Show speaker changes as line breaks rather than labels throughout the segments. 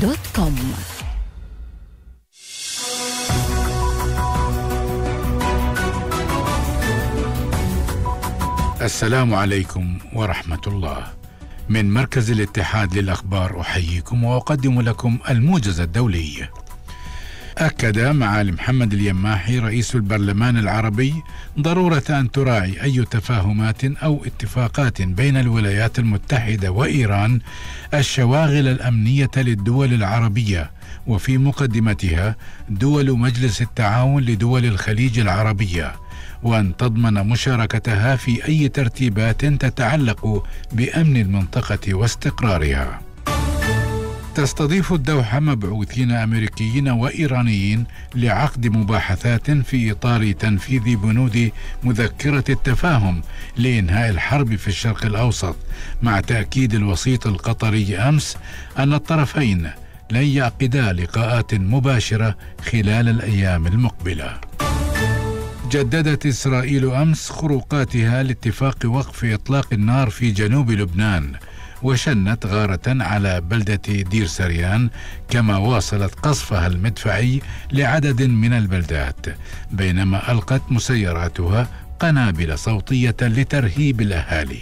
www.rfi.com.
السلام عليكم ورحمة الله. من مركز الاتحاد للأخبار أحييكم وأقدم لكم الموجز الدولي. أكد معالي محمد اليماحي رئيس البرلمان العربي ضرورة أن تراعي أي تفاهمات أو اتفاقات بين الولايات المتحدة وإيران الشواغل الأمنية للدول العربية، وفي مقدمتها دول مجلس التعاون لدول الخليج العربية، وأن تضمن مشاركتها في أي ترتيبات تتعلق بأمن المنطقة واستقرارها. تستضيف الدوحة مبعوثين أمريكيين وإيرانيين لعقد مباحثات في إطار تنفيذ بنود مذكرة التفاهم لإنهاء الحرب في الشرق الأوسط، مع تأكيد الوسيط القطري أمس أن الطرفين لن يعقدا لقاءات مباشرة خلال الأيام المقبلة. جددت إسرائيل أمس خروقاتها لاتفاق وقف إطلاق النار في جنوب لبنان، وشنت غارة على بلدة دير سريان، كما واصلت قصفها المدفعي لعدد من البلدات، بينما ألقت مسيراتها قنابل صوتية لترهيب الأهالي.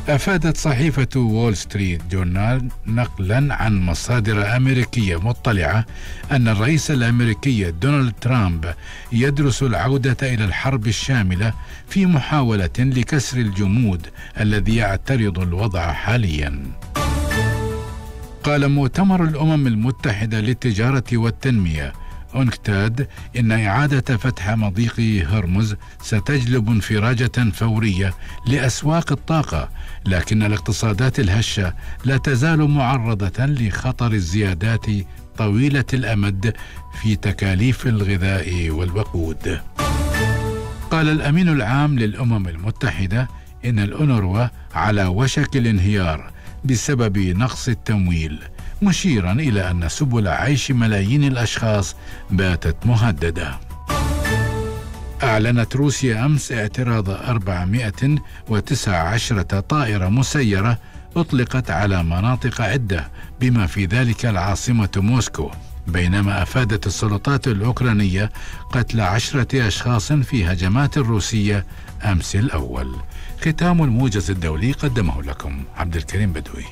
أفادت صحيفة وول ستريت جورنال نقلا عن مصادر أمريكية مطلعة أن الرئيس الأمريكي دونالد ترامب يدرس العودة إلى الحرب الشاملة في محاولة لكسر الجمود الذي يعترض الوضع حاليا. قال مؤتمر الأمم المتحدة للتجارة والتنمية أونكتاد إن إعادة فتح مضيق هرمز ستجلب انفراجة فورية لأسواق الطاقة، لكن الاقتصادات الهشة لا تزال معرضة لخطر الزيادات طويلة الأمد في تكاليف الغذاء والوقود. قال الأمين العام للأمم المتحدة إن الأونروا على وشك الانهيار بسبب نقص التمويل، مشيرا إلى أن سبل عيش ملايين الأشخاص باتت مهددة. أعلنت روسيا أمس اعتراض 419 طائرة مسيرة أطلقت على مناطق عدة بما في ذلك العاصمة موسكو، بينما أفادت السلطات الأوكرانية قتل 10 أشخاص في هجمات روسية أمس الأول. ختام الموجز الدولي قدمه لكم عبد الكريم بدوي.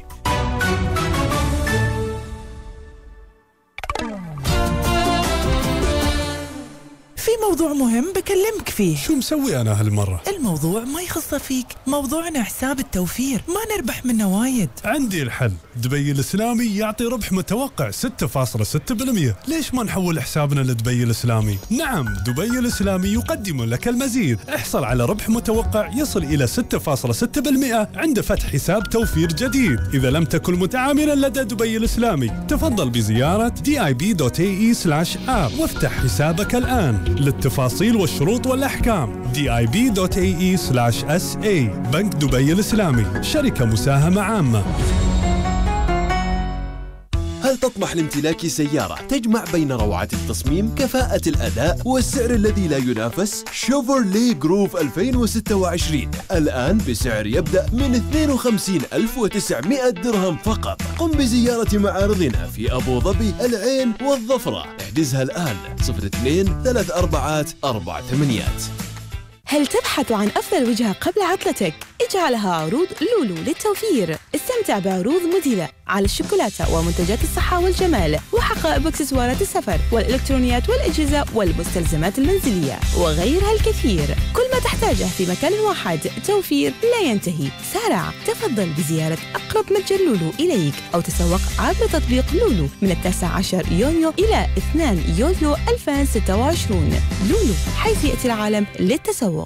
في موضوع مهم بكلمك فيه.
شو مسوي أنا هالمرة؟
الموضوع ما يخص فيك، موضوعنا حساب التوفير، ما نربح منه وايد.
عندي الحل، دبي الإسلامي يعطي ربح متوقع 6.6%. ليش ما نحول حسابنا لدبي الإسلامي؟ نعم، دبي الإسلامي يقدم لك المزيد. احصل على ربح متوقع يصل إلى 6.6% عند فتح حساب توفير جديد. إذا لم تكن متعاملا لدى دبي الإسلامي، تفضل بزيارة dib.ae/app وافتح حسابك الآن. للتفاصيل والشروط والأحكام dib.ae/sa. بنك دبي الإسلامي، شركة مساهمة عامة.
هل تطمح لامتلاك سيارة تجمع بين روعة التصميم، كفاءة الأداء والسعر الذي لا ينافس؟ شيفروليه جروف 2026 الآن بسعر يبدأ من 52,900 درهم فقط. قم بزيارة معارضنا في أبو ظبي، العين والظفرة. احجزها الآن 02-34-48.
هل تبحث عن أفضل وجهة قبل عطلتك؟ اجعلها عروض لولو للتوفير. استمتع بعروض مذهلة على الشوكولاتة ومنتجات الصحة والجمال، وحقائب واكسسوارات السفر والإلكترونيات والأجهزة والمستلزمات المنزلية وغيرها الكثير. كل ما تحتاجه في مكان واحد. توفير لا ينتهي. سارع، تفضل بزيارة أقرب متجر لولو إليك أو تسوق عبر تطبيق لولو من 19 يونيو إلى 2 يوليو 2026. لولو، حيث يأتي العالم للتسوق.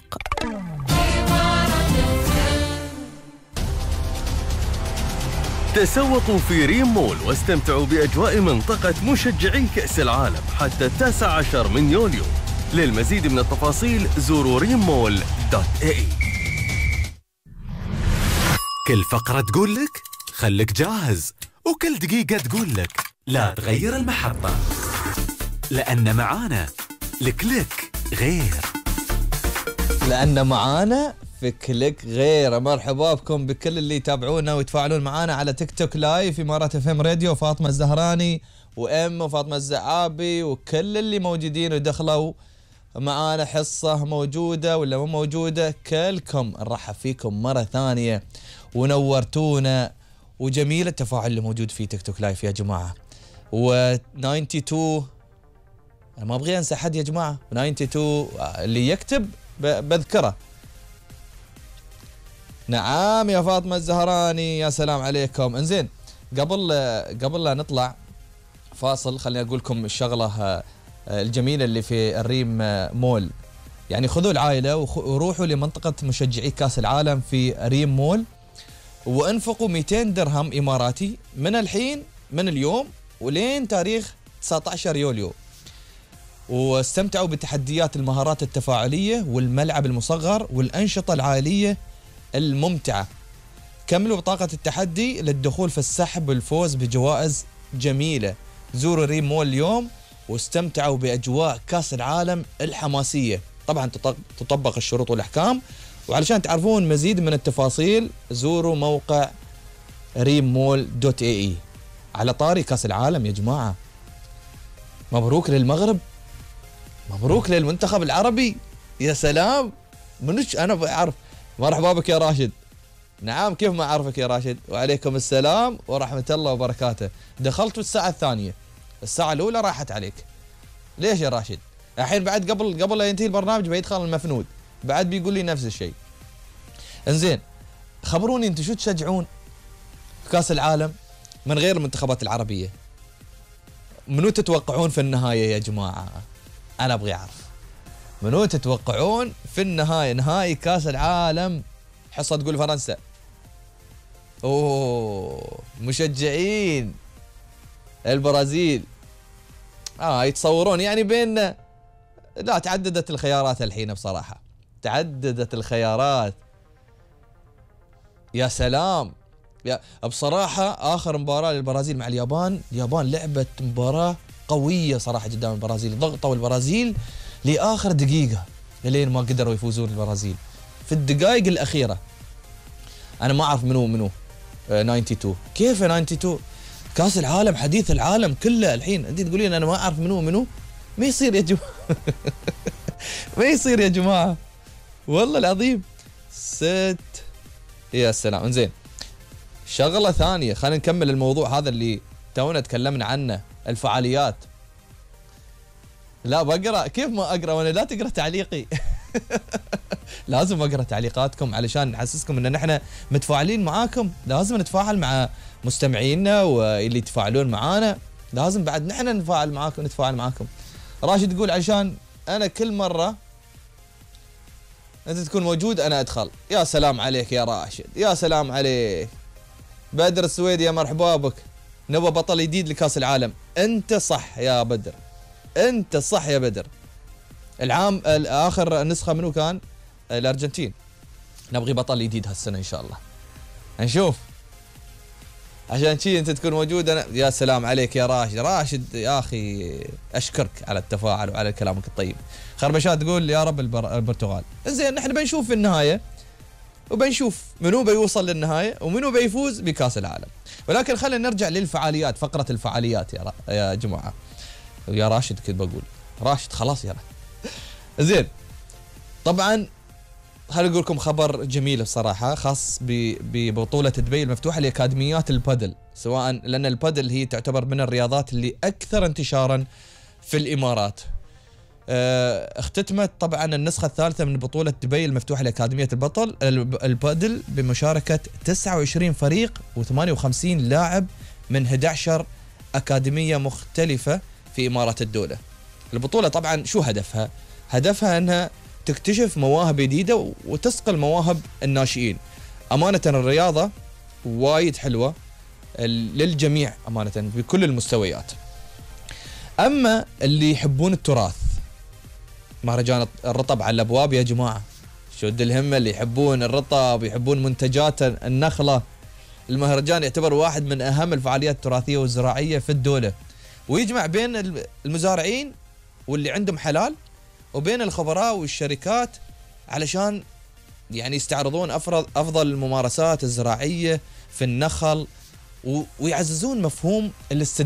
تسوقوا في ريم مول واستمتعوا بأجواء منطقة مشجعي كأس العالم حتى 19 من يوليو. للمزيد من التفاصيل زوروا rimmall.ae.
كل فقرة تقول لك خلك جاهز، وكل دقيقة تقول لك لا تغير المحطة، لأن معانا الكليك غير.
لأن معانا
في كليك غير. مرحبا بكم بكل اللي يتابعونا ويتفاعلون معنا على تيك توك لايف إمارات اف ام راديو. فاطمة الزهراني وفاطمة الزعابي وكل اللي موجودين ودخلوا معانا حصة موجودة ولا مو موجودة، كلكم نرحب فيكم مرة ثانية ونورتونا. وجميل التفاعل اللي موجود في تيك توك لايف يا جماعة. و92 أنا ما أبغي أنسى حد يا جماعة. 92 اللي يكتب بذكره. نعم يا فاطمة الزهراني، يا سلام عليكم. انزين قبل لا نطلع فاصل خليني أقول لكم الشغلة الجميلة اللي في الريم مول. يعني خذوا العائلة وروحوا لمنطقة مشجعي كاس العالم في ريم مول وانفقوا 200 درهم إماراتي من الحين من اليوم ولين تاريخ 19 يوليو، واستمتعوا بتحديات المهارات التفاعلية والملعب المصغر والأنشطة العائلية الممتعة. كملوا بطاقة التحدي للدخول في السحب والفوز بجوائز جميلة. زوروا ريم مول اليوم واستمتعوا بأجواء كاس العالم الحماسية. طبعا تطبق الشروط والأحكام. وعلشان تعرفون مزيد من التفاصيل زوروا موقع reemmall.ae. على طاري كاس العالم يا جماعة، مبروك للمغرب، مبروك للمنتخب العربي. يا سلام، منش أنا بعرف. مرحبا بك يا راشد. نعم كيف ما أعرفك يا راشد. وعليكم السلام ورحمة الله وبركاته. دخلت الساعة الثانية، الساعة الأولى راحت عليك. ليش يا راشد؟ الحين بعد قبل لا ينتهي البرنامج بيدخل المفنود بعد بيقول لي نفس الشيء. انزين خبروني انتم شو تشجعون في كاس العالم من غير المنتخبات العربية؟ منو تتوقعون في النهاية يا جماعة؟ أنا أبغي أعرف منو تتوقعون في النهاية، نهائي كاس العالم. حصة تقول فرنسا. أوه مشجعين البرازيل. يتصورون يعني بين، لا تعددت الخيارات الحين بصراحة، تعددت الخيارات. يا سلام يا بصراحة آخر مباراة للبرازيل مع اليابان لعبت مباراة قوية صراحة قدام البرازيل. ضغطوا البرازيل لآخر دقيقة لين ما قدروا يفوزون البرازيل في الدقائق الأخيرة. أنا ما أعرف منو 92. كيف 92 كاس العالم حديث العالم كله الحين أنت تقولين أنا ما أعرف منو؟ ما يصير يا جماعة. ما يصير يا جماعة والله العظيم. يا سلام. انزين شغلة ثانية خلينا نكمل الموضوع هذا اللي تونا تكلمنا عنه، الفعاليات. لا بقرأ، كيف ما أقرأ وأنا لا تقرأ تعليقي؟ لازم أقرأ تعليقاتكم علشان نحسسكم أن نحن متفاعلين معاكم. لازم نتفاعل مع مستمعينا واللي يتفاعلون معانا، لازم بعد نحن نتفاعل معاكم. راشد يقول عشان أنا كل مرة أنت تكون موجود أنا أدخل. يا سلام عليك يا راشد، يا سلام عليك. بدر السويدي يا مرحبا بك. نبغى بطل جديد لكاس العالم. أنت صح يا بدر، أنت صح يا بدر. العام آخر نسخة منو كان؟ الأرجنتين. نبغي بطل جديد هالسنة إن شاء الله. نشوف عشان شي أنت تكون موجود أنا. يا سلام عليك يا راشد يا أخي أشكرك على التفاعل وعلى كلامك الطيب. خربشات تقول يا رب البرتغال. إنزين نحن بنشوف في النهاية وبنشوف منو بيوصل للنهاية ومنو بيفوز بكاس العالم. ولكن خلينا نرجع للفعاليات، فقرة الفعاليات يا جماعة. يا راشد كنت بقول راشد خلاص يا زين. طبعا خليني أقول لكم خبر جميل بصراحة خاص ببطولة دبي المفتوحة لأكاديميات البادل، سواء لأن البادل هي تعتبر من الرياضات اللي أكثر انتشارا في الإمارات. اختتمت طبعا النسخة الثالثة من بطولة دبي المفتوحة لأكاديمية البادل بمشاركة 29 فريق و58 لاعب من 11 أكاديمية مختلفة في إمارات الدولة. البطولة طبعا شو هدفها؟ هدفها أنها تكتشف مواهب جديدة وتسقل مواهب الناشئين. أمانة الرياضة وايد حلوة للجميع أمانة بكل المستويات. أما اللي يحبون التراث، مهرجان الرطب على الأبواب يا جماعة. شد الهمة اللي يحبون الرطب ويحبون منتجات النخلة. المهرجان يعتبر واحد من أهم الفعاليات التراثية والزراعية في الدولة، ويجمع بين المزارعين واللي عندهم حلال وبين الخبراء والشركات علشان يعني يستعرضون أفضل الممارسات الزراعية في النخل ويعززون مفهوم الاستدامة